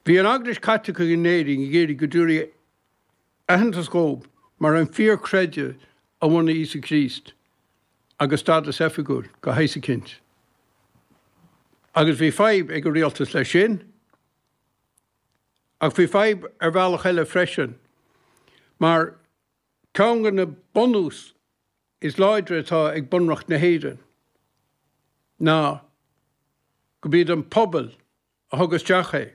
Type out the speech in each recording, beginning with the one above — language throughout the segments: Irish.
Bhí an Eaglais Chaitliceach in Éirinn ag iarraidh go dtabharfaí aitheantas dhóibh mar an fíorchreideamh a bhunaigh Íosa Críost agus stádas oifigiúil de shaghas eicínt. Agus bhí fadhb ag an rialtas leis sin. Ach bhí fadhb ar bhealach eile freisin, mar ceann de na bunús is láidre atá ag Bunreacht na hÉireann ná go b'iad an pobal a thug isteach é.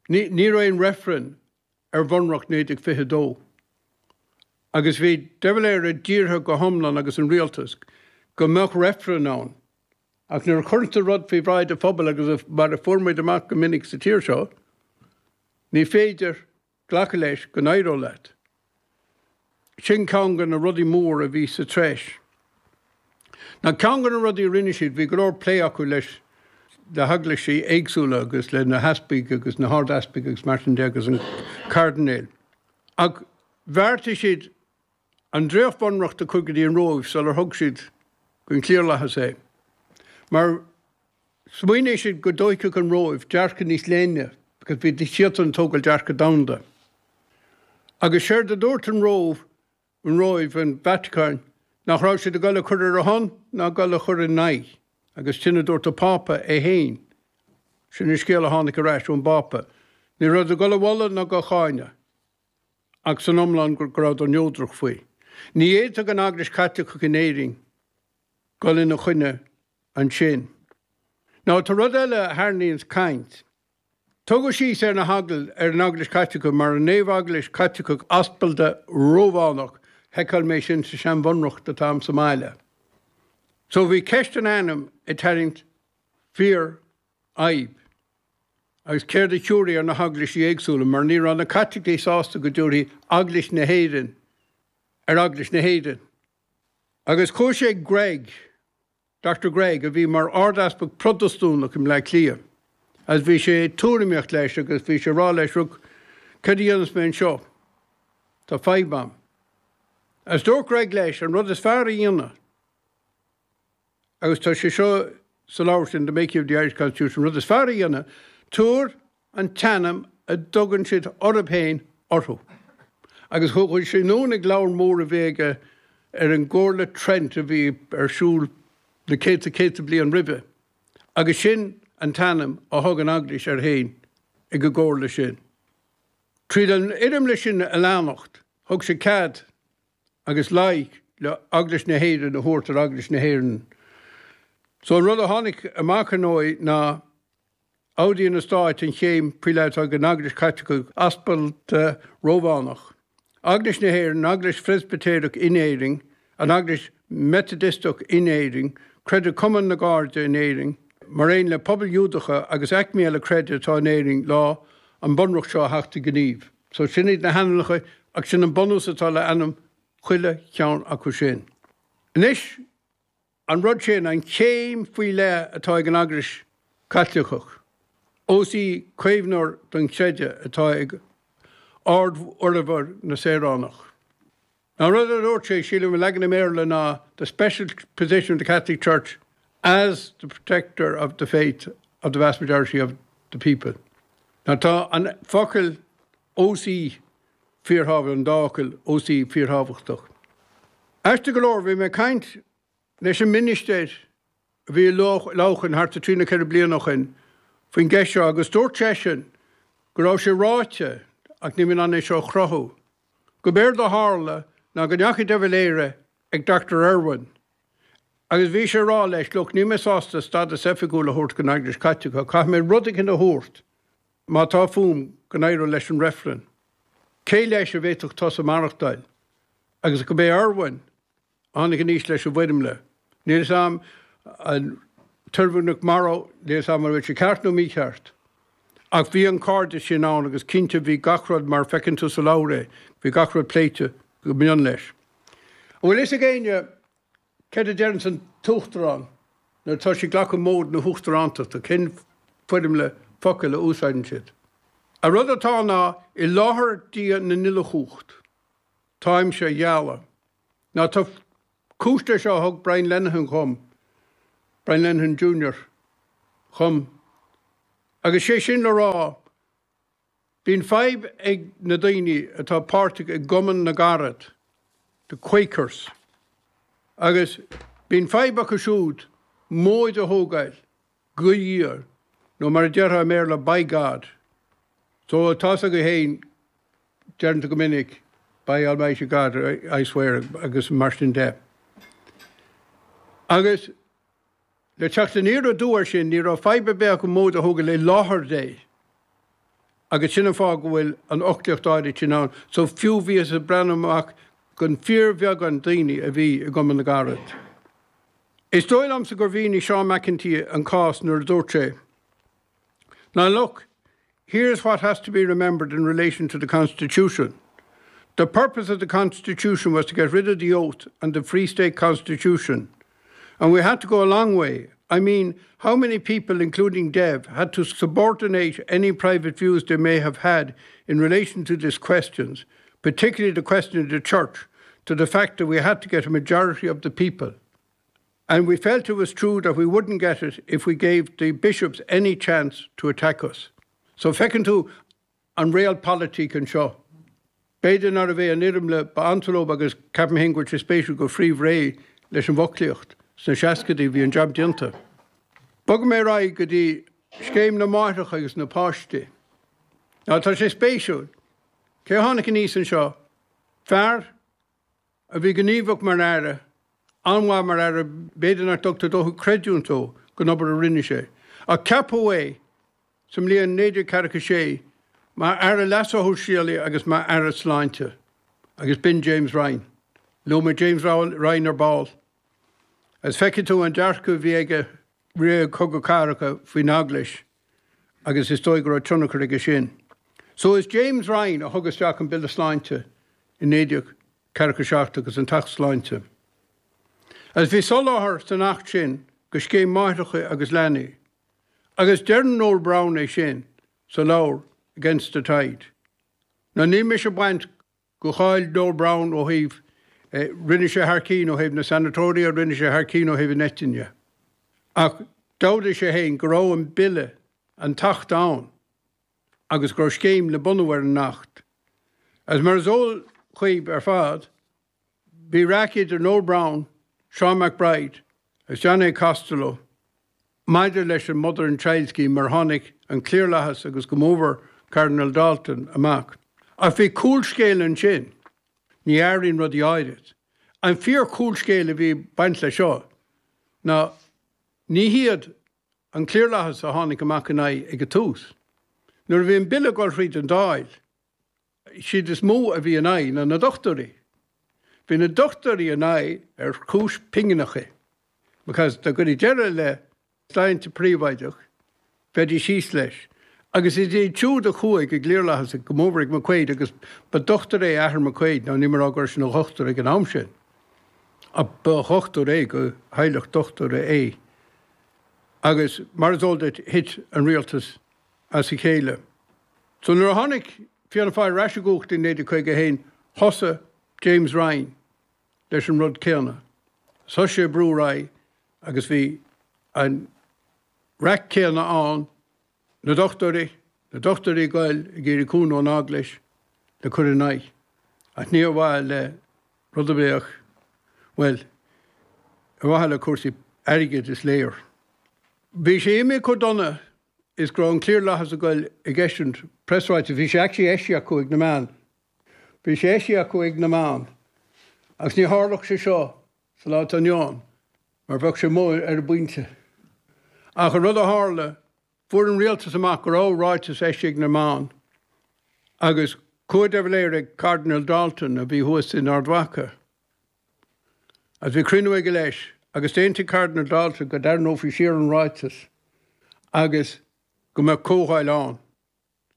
Ní ní raibh aon reifreann ar Bhunreacht 1922 agus bhí De Valera dírithe go hiomlán agus an rialtas go mbeadh reifreann ann ach nuair a chuireann tú rud faoi bhráid an phobail agus mar a fuair muid amach go minic sa tír seo ní féidir glacadh leis go n-éireodh leat. Sin ceann de na rudaí mór a bhí sa treis. Now ceann de na rudaí a rinne siad, bhí go leor plé acu leis na heaglaisí éagsúla agus le na heaspaig agus na hard-easpaig agus mar sin de agus an cairdinéil. Ach bheartaigh siad an dréacht-bhunreacht a chur go dtí an Róimh sular thug siad don chliarlathas é. Mar Smaoinigh siad go dtóigfeadh an Róimh dearcadh níos léine because bhí siadsan ag tógáil dearcadh domhanda. Agus séard a dúirt an Róimh, an Róimh, an Vatacáin, nach raibh siad ag dul a cur ar a shon ná ag dul a chur ina aghaidh. Agus sin a dúirt an Pápa é féin. Sin an scéal a tháinig ar ais ón bPápa. Ní raibh ag dul a mholadh ná ag cáineadh. Ach san iomlán go rabhadar neodrach faoi. Ní fhéadfadh an Eaglais Chaitliceach in Éirinn dul ina choinne ansin. Now tá rud eile a tharraingíonns caint. Tugadh síos ar na heaglais, ar an Eaglais Chaitliceach mar an Naomh-Eaglais Chaitliceach Aspalda Rómhánach, sheiceáil mé sin sa sean-bhunreacht atá a'm sa mbaile. So bhí ceist an ainm ag tarraingt fíor fhadhb. Agus céard a thiúrfaí ar na heaglaisí éagsúla mar ní raibh na Caitlicigh sásta go dtiúrfaí Eaglais na hÉireann ar Eaglais na hÉireann. Agus chuaigh sé ag Gregg, Doctor Gregg, a bhí mar Ard-Easpag Protastúnach i mBleá Cliath, agus bhí sé ag tuairimíocht leis agus bhí sé ag rá leis, Look, céard a dhéanfas mé anseo? Tá fadhb a'm. Agus dúirt Gregg leis, an rud is fearr a dhéanamh, agus tá sé seo sa leabhar sin, The Making of the Irish Constitution, an rud is fearr a dhéanamh, tabhair an t-ainm a dtugann siad orthu féin orthu. Agus chuaigh sé anonn ag leabhar mór a bhí aige ar an gComhairle Trent a bhí ar siúl na céadta céadta bliain roimhe, agus sin an t-ainm a thug an Eaglais air féin ag an gcomhairle sin. Tríd an fhoirmle sin a leanacht, thug sé cead agus like le Eaglais na hÉireann a thabhairt ar Eaglais na hÉireann. So an rud a tháinig amach ar ndóigh ná Ordaíonn na Stáit an chéim faoi leith atá ag an Eaglais Chaitliceach Aspalda Rómhánach, Eaglais na hÉireann, an Eaglais Phreispitéireach in Éirinn, an Eaglais Mheitidisteach in Éirinn, Creideamh Cumann na gCairde in Éirinn, mar aon le pobail Ghiúdacha agus aicmí eile creidimh atá in Éirinn lá an Bunreacht seo a theacht i ngníomh. So sin iad na hainmneacha ach sin an bunús atá le ainm chuile cheann acu sin. Anois. An rud sin, an chéim faoi leith atá ag an Eaglais Chaitliceach, ós í caomhnóir don chreideamh atá ag ardfhormhór na saoránach. An rud a dúirt sé, sílim, i leagan i mBéarla ná the special position of the Catholic Church as the protector of the faith of the vast majority of the people. Now tá an focal ós í fíorthábhachtach, an dá fhocal ós í fíorthábhachtach. Aisteach go leor, bhí mé ag caint leis an ministir a bhí i Leamhcán thart ar trí nó ceithre bliana ó shin faoin gceist seo agus dúirt seisean go raibh sé ráite, ach níl mé in ann é seo a chruthú, go b'éard a tharla ná go ndeachaigh de Valera ag Doctor Irwin agus bhí sé ag rá leis, look, níl mé sásta stádas oifigiúil a thabhairt don Eaglais Chaitliceach, caithfidh mé rud éicint a thabhairt má tá fúm go n-éireoidh leis an reifreann. Cé leis a bhféadfadh tusa maireachtáil? Agus go b'é Irwin a tháinig aníos leis an bhfoirmle. Níl fhios a'm an tIrwin McMorrow, níl fhios a'm an bhfuil sé ceart nó mícheart. Ach bhí an cairdeas sin ann agus cinnte bhí gach rud mar feiceann tú sa leabhar é, bhí gach rud pléite go mion leis. An bhfuil fhios ag éinne céard a deireanns an tUachtarán nuair atá sé ag glacadh móid na hUachtarántachta, cén foirmle focail a úsáideann siad? An rud atá ná, i láthair Dia na n-uile-chumhacht, táimse a ghealladh. Now tá cúis leis seo a thug Brian Lenihan dhom, Brian Lenihan Junior, dhom. Agus sé sin le rá, bíonn fadhb ag na daoine atá páirteach i gCumann na gCarad, the Quakers, agus bíonn fadhb acu siúd móid a thógáil go Dhia, nó mar a déarfá i mBéarla, by God. So tá's agaibh féin, deireann tú go minic, by Almighty God, I swear, agus mar sin de. Agus le teacht aniar aduaidh air sin, ní raibh fadhb ar bith acu móid a thógáil i láthair Dé. Agus sin an fáth go bhfuil an fhoclaíocht áirid sin ann. So fiú bhíothas ag breathnú amach gon fíorbheagán daoine a bhí i gCumann na gCarad. Is dóigh liomsa gur mhínigh Seán McEntee an cás nuair a dúirt sé, Now look, here's what has to be remembered in relation to the Constitution. The purpose of the Constitution was to get rid of the oath and the Free State Constitution. And we had to go a long way. I mean, how many people, including Dev, had to subordinate any private views they may have had in relation to these questions, particularly the question of the church, to the fact that we had to get a majority of the people. And we felt it was true that we wouldn't get it if we gave the bishops any chance to attack us. So feiceann tú an realpolitik anseo. B'fhéidir nárbh é an fhoirmle ba ansa leo agus ceapaim féin go bhfuil sé spéisiúil gur frítheadh réidh leis an bhfoclaíocht sna seascaidí, bhí an jab déanta. Bogfaidh mé ar aghaidh go dtí scéim na máithreacha agus na páistí. Now tá sé spéisiúil. Cé a tháinig aníos anseo? Fear a bhí gníomhach mar Aire, an-mhaith mar Aire, b'fhéidir nach dtugtar dóthain creidiúint dó don obair a rinne sé, ach ceapadh é sa mbliain 1946 mar Aire Leasa Shóisialaigh agus mar Aire Sláinte, agus b'in James Ryan. Luaigh mé James Ryan ar ball. Agus feicfidh tú an dearcadh a bhí aige roimh Chogadh Cathartha faoin Eaglais agus is dóigh go raibh tionchar aige sin. So is James Ryan a thug isteach an Bille Sláinte i 1947 agus an tAcht Sláinte. Agus bhí soláthar san Acht sin go scéim máithreacha agus leanaí. Agus deireann Noel Browne é sin sa leabhar Against the Tide. Now níl mise ag baint go cháil Noel Browne ó thaobh, rinne sé thar cinn ó thaobh na sanatoria, rinne sé thar cinn ó thaobh an eitinne. Ach d'admhaigh sé féin go raibh an bille, an tAcht ann agus go raibh scéim le bunú ar an Acht. Agus mar is eol dhaoibh ar fad, Bhí raic idir Noel Browne, Seán MacBride agus John A. Costello maidir leis an Mother and Child Scheme mar tháinig an cliarlathas agus go mórmhór Cardinal Dalton amach. Ach bhí cúlscéal ansin. Ní athraíonn rudaí áirid. An fíor chúlscéal a bhí ag baint leis seo ná ní hiad an cliarlathas a tháinig amach in aghaidh ag an tús. Nuair a bhí an bille ag dul thríd an Dáil, siad is mó a bhí in aghaidh ná na dochtúirí. Bhí na dochtúirí in aghaidh ar chúis pingineacha because dá gcuirfí deireadh le sláinte príobháideach bheidís thíos leis. Agus is iad siúd a chuaigh ag an gcliarlathas go mórmhór ag McQuaid agus ba dochtúir é athair McQuaid, now níl mé ag rá go raibh sé ina dhochtúir ag an am sin ach ba dhochtúir é go theaghlach dochtúra é. Agus mar is eol duit thit an rialtas as a chéile. So nuair a tháinig Fianna Fáil ar ais i gcumhacht i 1951 thosaigh James Ryan leis an rud céanna. Thosaigh sé ag brú ar aghaidh agus bhí an raic céanna ann, na dochtúirí, na dochtúirí ag goil ag iarraidh cúnamh ón Eaglais le cur in aghaidh. Ach ní ar mhaithe le rud ar bith ach, bhuel, ar mhaithe le cúrsaí airgid is léir. Bhí sé imithe chomh dona is go raibh an cliarlathas ag goil ag eisiúint preasráiteas. Bhí sé actually eisithe acu ag na meáin. Bhí sé eisithe acu ag na meáin. Agus ní tharlódh sé seo sa lá atá inniu ann mar bheadh sé amuigh ar an bpointe. Ach an rud a tharla, fuair an rialtas amach go raibh ráiteas eisithe ag na meáin agus chuaigh de Valera ag Cardinal Dalton a bhí thuas in Ard Mhacha. Agus bhí cruinniú aige leis, agus d'aontaigh Cardinal Dalton go dtarraingeofaí siar an ráiteas agus go mbeadh comhdháil ann.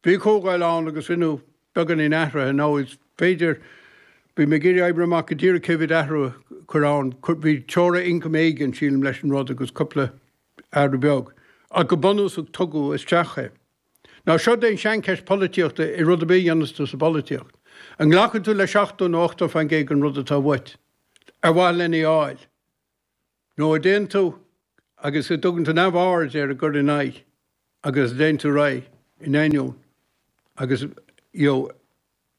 Bhí comhdháil ann agus rinneadh beagáinín athraithe. Now is féidir, bhí mé ag iarraidh oibriú amach go díreach cé mhéad athrú a cuireadh ann. Bhí teora ioncaim éigin, sílim, leis an rud agus cúpla athrú beag. Ach go bunúsach tugadh isteach é. Now seo é an seancheist polaitíochta i rud ar bith a dhéanas tú sa bpolaitíocht. An nglacann tú le 70 nó 80% den rud atá uait, ar mhaithe lena fháil? Nó an dtéann tú agus a dtugann tú neamhaird ar an gcur in aghaidh? agus a dtéann tú ar aghaidh in ainneoin agus you know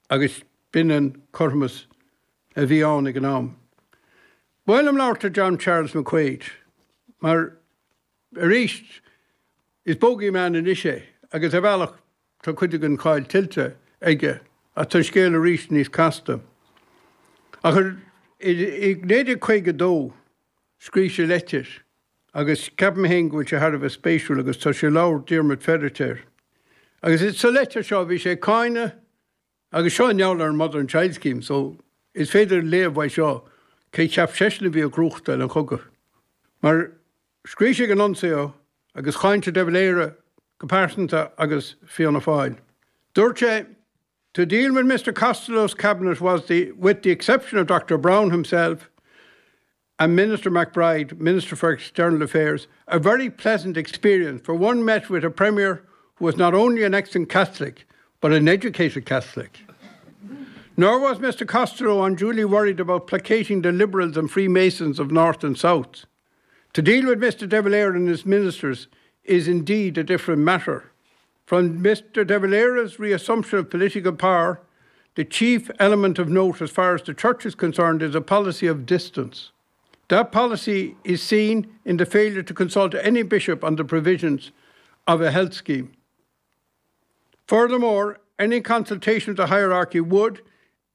agus b'in an cothromas a bhí ann ag an am. Ba mhaith liom labhairt ar John Charles McQuaid mar arís is bogey man anois é agus ar bhealach tá cuid den cháil tuillte aige ach tá an scéal arís níos casta. Ach i 1952 scríobh sé leitir agus ceapaim féin go bhfuil sé thar a bheith spéisiúil agus tá sé i leabhar Diarmaid Feiritéar. Agus sa leitir seo bhí sé ag cáineadh agus seo i ngeall ar an Mother and Child Scheme so is féidir léamh uaidh seo cé cheap seisean a bhí ag gnóthachtáil an chogadh. Mar scríobh sé ag an nuncio agus cháin sé de Valera go pearsanta agus Fianna Fáil. Dúirt sé To deal with Mr Costello's cabinet was the, with the exception of Dr Browne himself and Minister MacBride, Minister for External Affairs, a very pleasant experience, for one met with a Premier who was not only an excellent Catholic, but an educated Catholic. Nor was Mr Costello unduly worried about placating the Liberals and Freemasons of North and South. To deal with Mr De Valera and his ministers is indeed a different matter. From Mr De Valera's reassumption of political power, the chief element of note as far as the church is concerned is a policy of distance. That policy is seen in the failure to consult any bishop on the provisions of a health scheme. Furthermore, any consultation of the hierarchy would,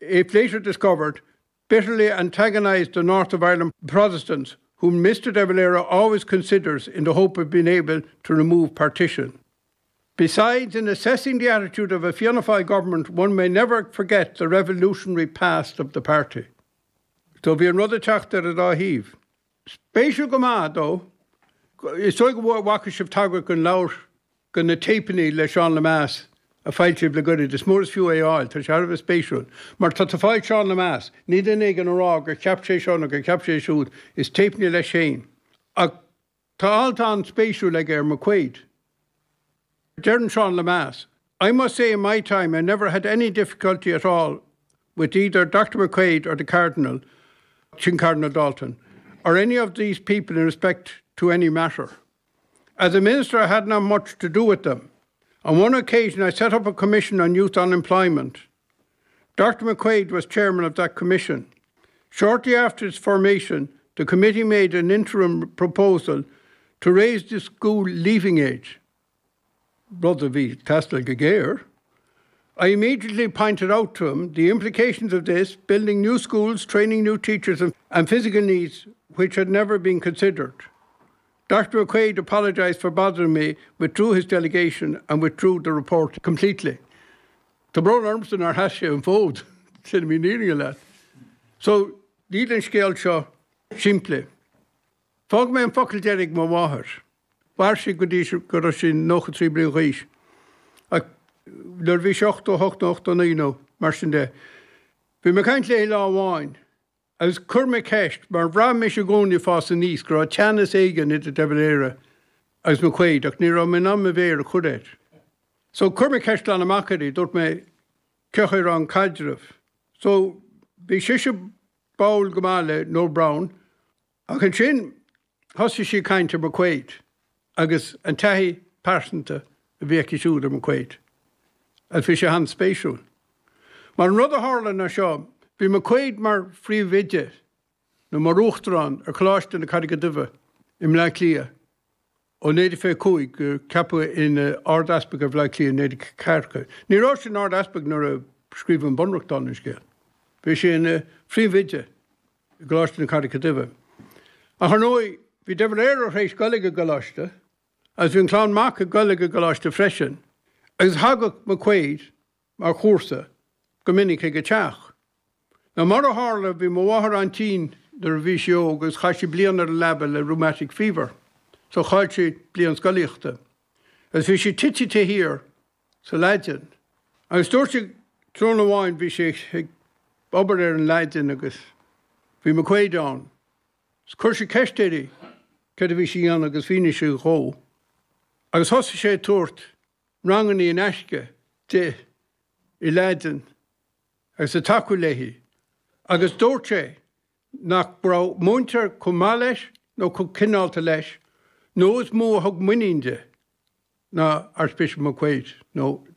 if later discovered, bitterly antagonised the North of Ireland Protestants, whom Mr De Valera always considers in the hope of being able to remove partition. Besides, in assessing the attitude of a Fianna Fáil government, one may never forget the revolutionary past of the party. So bhí an rud ag teacht ar an dá thaobh. Spéisiúil go maith, though, is dóigh go bhfaca sibh tagairt don leabhar, do na téipeanna le Seán Lemass a foilsíodh le goirid. Is mór is fiú é a fháil, tá sé thar a bheith spéisiúil. Mar tá tú ag fáil Seán Lemass, ní duine éigin ag rá gur cheap sé seo nó gur cheap sé siúd, is téipeanna leis féin. Ach tá alt an-spéisiúil aige ar McQuaid. Deireann Seán Lemass, I must say in my time I never had any difficulty at all with either Dr McQuaid or the Cardinal, sin Cardinal D'Alton, or any of these people in respect to any matter. As a minister I had not much to do with them. On one occasion I set up a commission on youth unemployment. Dr McQuaid was chairman of that commission. Shortly after its formation, the committee made an interim proposal to raise the school leaving age. Rud a bhí ag teastáil go géar. I immediately pointed out to him the implications of this, building new schools, training new teachers and, and physical needs which had never been considered. Dr McQuaid apologised for bothering me, withdrew his delegation and withdrew the report completely. Tá brón ormsa nár sheas sé an fód, sin an fhírinne leat. So, níl an scéal seo simplí. Fágfaidh mé an focal deiridh ag mo mháthair. Mhair sí go dtí go raibh sí 93 bliain d'aois. Ach nuair a bhí sí 88 nó 89 nó mar sin de, bhí mé ag caint léi lá amháin agus chuir mé ceist, mar bhraith mise i gcónaí ag fás aníos go raibh teannas éigin idir de Valera agus McQuaid ach ní raibh mé in ann mo mhéar a chur air. So chuir mé ceist glan amach uirthi, dúirt mé, cén chaoi a raibh an caidreamh? So bhí sise báúil go maith le Noel Browne ach ansin thosaigh sí ag caint ar McQuaid agus an taithí pearsanta a bhí aici siúd ar McQuaid agus bhí sé an-spéisiúil. Mar an rud a tharla ná seo, bhí McQuaid mar phríomhoide nó mar uachtarán ar Choláiste na Carraige Duibhe i mBleá Cliath Ó 1925 gur ceapadh ina Ard-Easpag ar Bhaile Átha Cliath i 1940. Ní raibh sé ina Ard-Easpag nuair a scríobhadh an Bunreacht, dála an scéil. Bhí sé ina phríomhoide i gColáiste na Carraige Duibhe. Ach ar ndóigh, bhí de Valera tar éis dul ag an gcoláiste agus bhí an clann mac ag dul ag an gcoláiste freisin agus thagadh McQuaid mar chúrsa go minic ag an teach. Now mar a tharla, bhí mo mháthair an-tinn nuair a bhí sí óg agus chaith sí bliain ar an leaba le rheumatic fever, so chaill sí bliain scolaíochta. Agus bhí sí tite thiar sa Laidin. Agus dúirt sí tráthnóna amháin bhí sí ag obair ar an Laidin agus bhí McQuaid ann. 'S chuir sé ceist uirthi céard a bhí sí a dhéanamh agus mhínigh sí dhó. Agus thosaigh sé ag tabhairt rangannaí in aisce di i Laidin agus ag tacú léi agus dúirt sé nach raibh múinteoir chomh maith leis nó chomh cineálta leis nó is mó a thug muinín di. ná Archbishop McQuaid nó.